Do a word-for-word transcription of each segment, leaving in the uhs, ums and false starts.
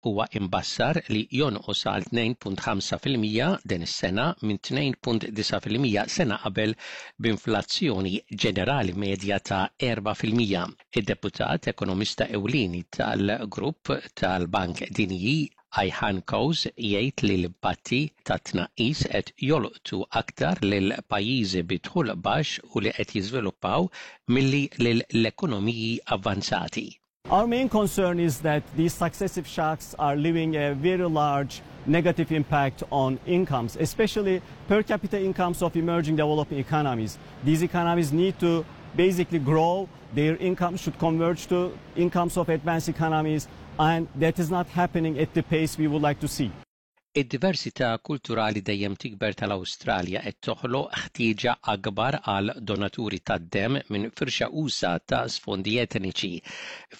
Huwa imbassar li jonqos għal tnejn punt ħamsa fil-mija din is-sena minn tnejn punt disgħa fil-mija sena qabel, b'inflazzjoni ġenerali medja ta' erbgħa fil-mija. Id-deputat ekonomista ewlieni tal-grupp tal-Bank Dinji, Ayhan Kose, jgħid li l-impatti ta' tnaqqis qed jolqtu aktar lil pajjiżi bi dħul baxx u li qed jiżviluppaw milli lill-ekonomiji avvanzati. Our main concern is that these successive shocks are leaving a very large negative impact on incomes, especially per capita incomes of emerging developing economies. These economies need to basically grow, their income should converge to incomes of advanced economies, and that is not happening at the pace we would like to see. Id-diversità kulturali dejjem tikber tal-Awstralja qed toħloq ħtieġa akbar għal donaturi tad-dem minn firxa usa' ta' sfondi etniċi.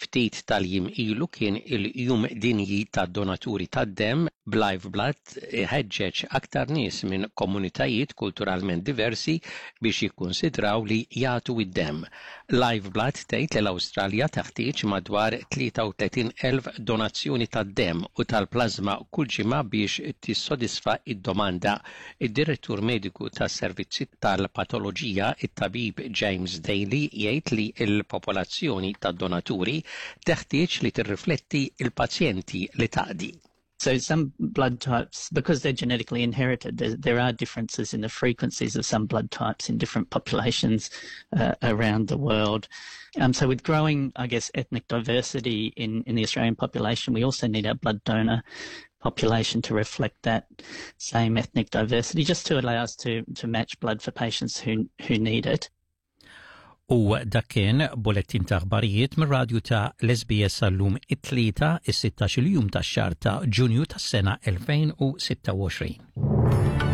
Ftit tal-jiem ilu kien il-Jum Dinji tad-Donaturi tad-Dem, b'Lifeblood ħeġġeġ aktar nies minn komunitajiet kulturalment diversi biex jikkonsidraw li jagħtu id-dem. Lifeblood tgħid li l-Awstralja taħtieġ madwar tlieta u tletin elf donazzjoni tad-dem u tal-plażma kull ġimgħa biex tissodisfa id-domanda. Id-direttur mediku tas-servizzi tal-patoloġija, it-tabib James Daly, jgħid li l-popolazzjoni tad-donaturi teħtieġ li tirrifletti il-pazjenti li taqdi. So some blood types, because they're genetically inherited, there, there are differences in the frequencies of some blood types in different populations uh, around the world. Um, so with growing, I guess, ethnic diversity in, in the Australian population, we also need our blood donor population to reflect that same ethnic diversity, just to allow us to, to match blood for patients who, who need it. U dak kien bullettin ta' aħbarijiet mir-radju ta' l-S B S għal-lum it-Tlieta, is-sittax-il jum tax-xahar ta' Ġunju tas-sena elfejn u sitta u għoxrin.